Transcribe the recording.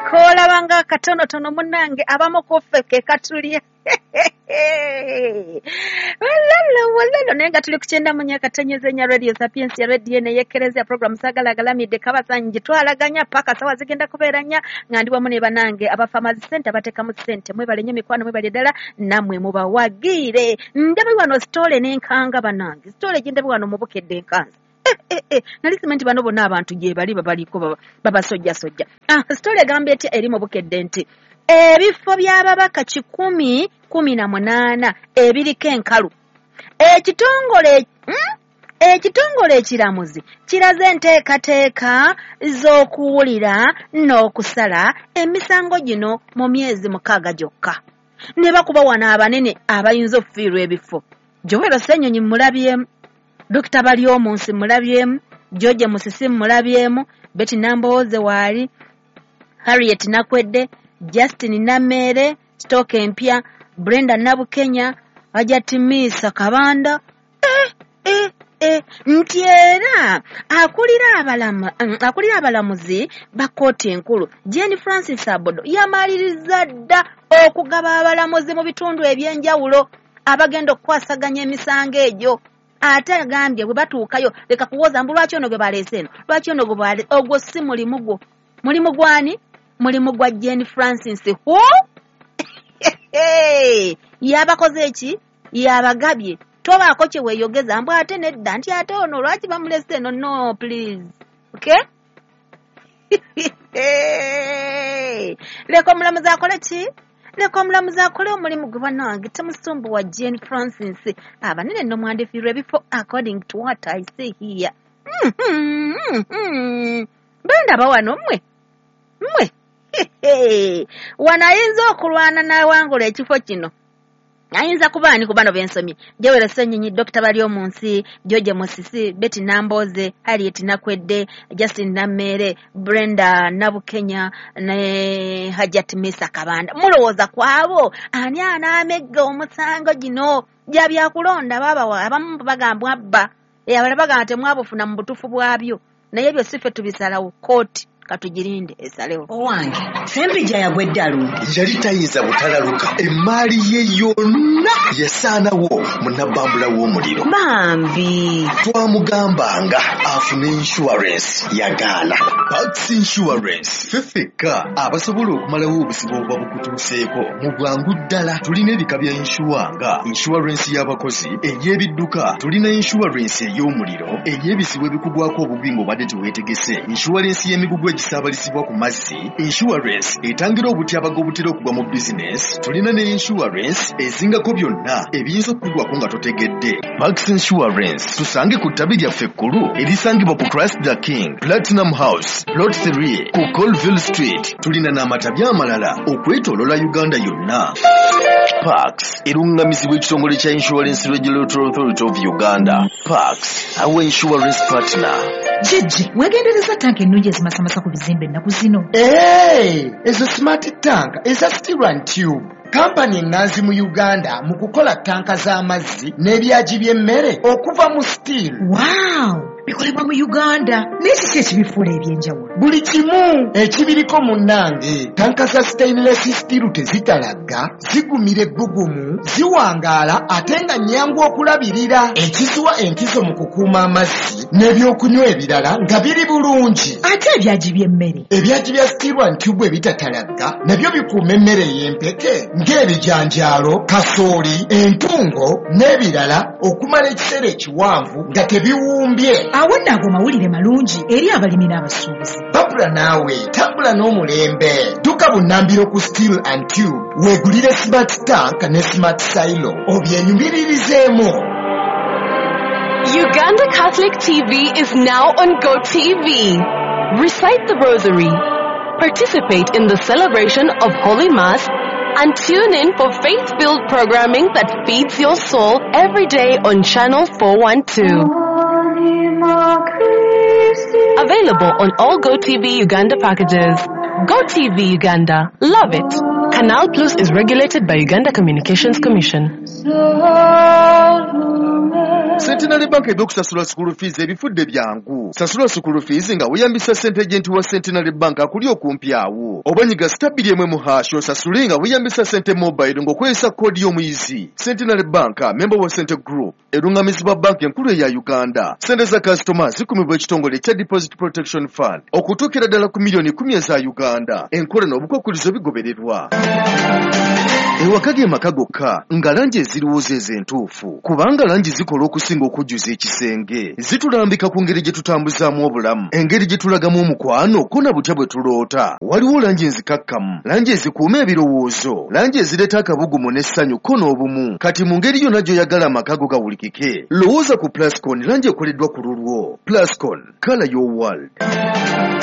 Koolabanga akatonotono munnange abamu ku ffe ke katulya. Walalo walalo, naye nga tuli ku 94.4 Radio Sapientia, radio neyekereza program Sagala Agalamidde Kabasanji twalaganya paka sawa zigenda kubeera nnya nga ndi wamu ne banange aba Farmers Center bateekamu ssente. Mwebale nnyo mikwano, mwebale ddala nammwe mubawagiire. Ndabe wano sitole n'enkanga bannange, sitole gye ndabe wano mubukedde enkanzi. Nali simanyi nti bano bonna abantu gye bali babaliko babasojjasojja. Sitole egamba etya eri mu Bukedde nti ebifo by'ababaka 118 ebiriko enkalu. Ekitongole ekiramuzi kiraze enteekateeka z'okuwulira n'okusala emisango gino mu myezi 6 gyokka. Ne bakuba wano abanene abayinza okufiirwa ebifo. Joel Ssenyonyi mulabyemu, Dr. Baryomunsi mulabyemu, George Musisi mulabyemu, Betty Nambooze waali, Harriet Nakwedde, Justin Namere, Stoke Empya, Brenda Nabukenya, Hajati Misa Kabanda. Nti era akulira abalamuzi ba kkooti enkulu Jane Francis Abodo yamaliriza dda okugaba abalamuzi mu bitundu ebyenjawulo abagenda okukwasaganya emisango egyo. Ate agambye bwe batuukayo leka kuwoza mbu lwaki ono gwe baleese eno, lwaki ono gwe ogwo si mulimu gwo. Mulimu gwani? Mulimu gwa Jane Francis who? Yabakoze eki? Yabagabye. Tobaako kye weeyogeza mbu ate nedda nti ate ono lwaki bamulese eno? No, please. Okay? Leka omulamuzi akole ki? Leka omulamuzi akole omulimu gwe bannange, temusumbuwa Jane Francis. Abanene nno mwandifiirwa ebifo according to what I see here. Bendaba wano mmwe. Mmwe. Wano ayinza okulwana n'awangula ekifo kino. Ayinza kuba ani ku bano bensomye? Joel Ssenyonyi, Dr. Baryomunsi, George Musisi, Betty Nambooze, Harriet Nakwedde, Justin Namere, Brenda Nabukenya ne Hajat Misa Kabanda. Mulowooza ku abo ani anaamegga omusango gino gya byakulonda? Babawa abamu bagambwa abba, abalala bagamba temwabufuna mu butuufu bwabyo, naye ebyo si ffe tubisalawo, kkooti katugirinde esalewo. Owange Ssempijja yagwa eddalu. Yali tayinza butalaluka, emmaali ye yonna yasaanawo mu nabbambula w'omuliro. Bambi twamugambanga afune insurance, yagaana. Pax Insurance ffe ffekka abasobola okumalawo obuzibu obuba bukutuuseeko mu bwangu ddala. Tulina ebika bya insure nga insurance y'abakozi, ey'ebidduka, tulina insurance ey'omuliro, ey'ebizibu ebikugwako obubi ng'obadde teweetegese, insurance y'emigugu egisaabalizibwa ku mazzi, insurance etangira obutyabaga obutera okugwa mu bizinesi, tulina ne insurance ezingako byonna ebiyinza okukugwako nga totegedde. Pax Insurance tusange ku ttabi lyaffe ekkulu erisangibwa ku Christ the King Platinum House Plot 3 ku Colville Street. Tulina n'amatabi amalala okwetooloola Uganda yonna. Pax erungamizibwa ekitongole kya Insurance Regulatory Authority of Uganda. Pax, our insurance partner. Jjajja, weegendereza tanka ennungi ezimasamasa ku bizimbe ennaku zino. Ezo smart tank eza steel and tube. Kampani ennanzi mu Uganda mu kukola tanka z'amazzi n'ebyagi by'emmere okuva mu steel. Wow! Bikolebwa mu Uganda. Naye kiki ekibifuula ebyenjawulo? Buli kimu ekibiriko munnange. Tanka za stainless steel tezitalagga, zigumira ebbugumu, ziwangaala ate nga nnyangu okulabirira. Ekiziwa enkizo mu kukuuma amazzi n'ebyokunywa ebirala nga biri bulungi. Ate ebyagi by'emmere? Ebyagi bya steel and tube ebitatalagga nabyo bikuuma emmere ey'empeke ng'ebijanjaalo, kasooli, entungo n'ebirala okumala ekiseera ekiwanvu nga tebiwumbye. Awo nno ago mawulire malungi eri abalimi n'abasuubuzi. Babula naawe tambula n'omulembe. Dduka bunnambiro ku Steel and Tube weegulire smart tank ne smart silo obyenyumiririzeemu. Uganda Catholic TV is now on GoTV. Recite the Rosary, participate in the celebration of Holy Mass, and tune in for faith-filled programming that feeds your soul every day on Channel 412. Available on all GoTV Uganda packages. GoTV Uganda. Love it. Canal Plus is regulated by Uganda Communications Commission. Centenary Bank ebyokusasula school fees ebifudde byangu. Sasula school fees nga weeyambisa ssente agent wa Centenary Bank akuli okumpi awo. Oba nyiga *200# osasule nga weeyambisa ssente mobile ng'okozesa koodi y'omuyizi. Centenary Bank, member wa Sente Group, erungamizibwa banka enkulu eya Uganda. Ssente za kasitoma zikumibwa ekitongole ekya Deposit Protection Fund okutuukira ddala ku miliyoni 10 eza Uganda. Enkola n'obukwakkulizo bigobererwa. Ewaka ge maka gokka nga langi eziriwo zeezo entuufu, kubanga langi zikola okusinga okujjuza ekisenge. Zitulambika ku ngeri gye tutambuzaamu obulamu, engeri gye tulagamu omukwano, ko na butya bwe tuloota. Waliwo langi enzikakkamu, langi ezikuuma ebirowoozo, langi ezireeta akabugumu n'essanyu ko n'obumu. Kati mu ngeri yonna gy'oyagala amaka go gawulikike, lowooza ku Plascon, langi ekoleddwa ku lulwo. Plascon, colour your world.